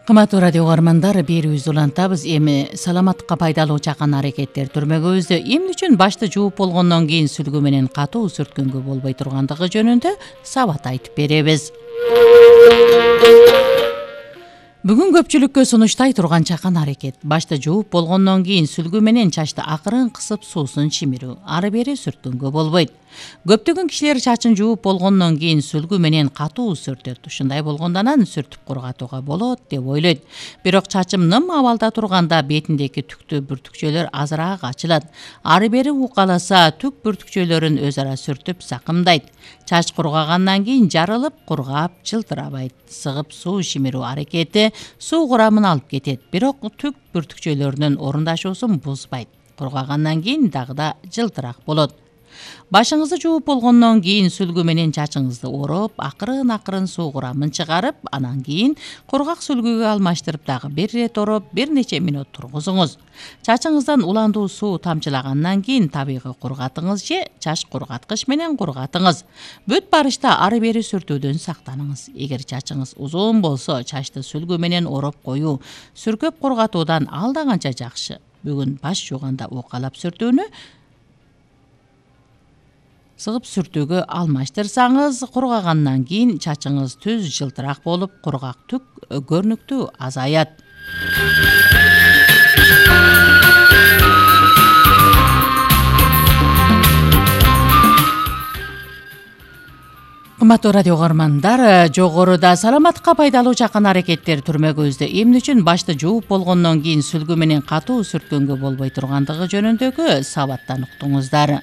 Кымбаттуу радио угармандар, берүүбүздү улантабыз. Эми саламатка пайдалуу чакан аракеттер түрмөгүбүздө эмне үчүн башты жууп болгондон кийин сүлгү менен катуу сүрткөнгө болбой тургандыгы жөнүндө сабат айтып беребиз. Бүгүн көпчүлүккө сунуштай турган чакан аракет башты жууп болгондон кийин сүлгү менен чачты акырын кысып суусун чимирүү, ары бери сүрткөнгө болбойт. Көптөгөн кишилер чачын жууп болгондон кийин сүлгү менен катуу сүртөт. Ушундай болгондо анан сүртүп кургатууга болот деп ойлойт. Бирок чачым ным абалда турганда бетиндеги түктүү бүртүкчөлөр азыраак ачылат. Ары бери укаласа түк бүртүкчөлөрүн өз ара сүртүп сакымдайт. Чач кургагандан кийин жарылып, кургап, жылтырабайт. Сыгып суу чимирүү аракети суу курамын алып кетет, бирок түк бүртүкчөлөрүнүн орундашуусун бузбайт. Кургагандан кийин дагы да жылтыраак болот. Башыңызды жууп болгондон кийин сүлгү менен чачыңызды ороп, акырын суу курамын чыгарып, анан кийин кургак сүлгүгө алмаштырып дагы бир ирет ороп, бир нече мүнөт тургузуңуз. Чачыңыздан уландуу суу тамчылагандан кийин табигый кургатыңыз же чач кургаткыч менен кургатыңыз. Бүт барышта ары бери сүртүүдөн сактаныңыз. Эгер чачыңыз узун болсо, чачты сүлгү менен ороп коюу сүркөп кургатуудан алда канча жакшы. Бүгүн баш жууганда укалап сүртүүнү сыгып сүртүүгө алмаштырсаңыз, кургагандан кийин чачыңыз түз жылтыраак болуп, кургак түк көрүнүктүү азаят. Кымбаттуу радио угармандар, жогоруда саламатка пайдалуу чакан аракеттер түрмөгүбүздө эмне үчүн башты жууп болгондон кийин сүлгү менен катуу сүрткөнгө болбой тургандыгы жөнүндөгү сабаттан уктуңуздар.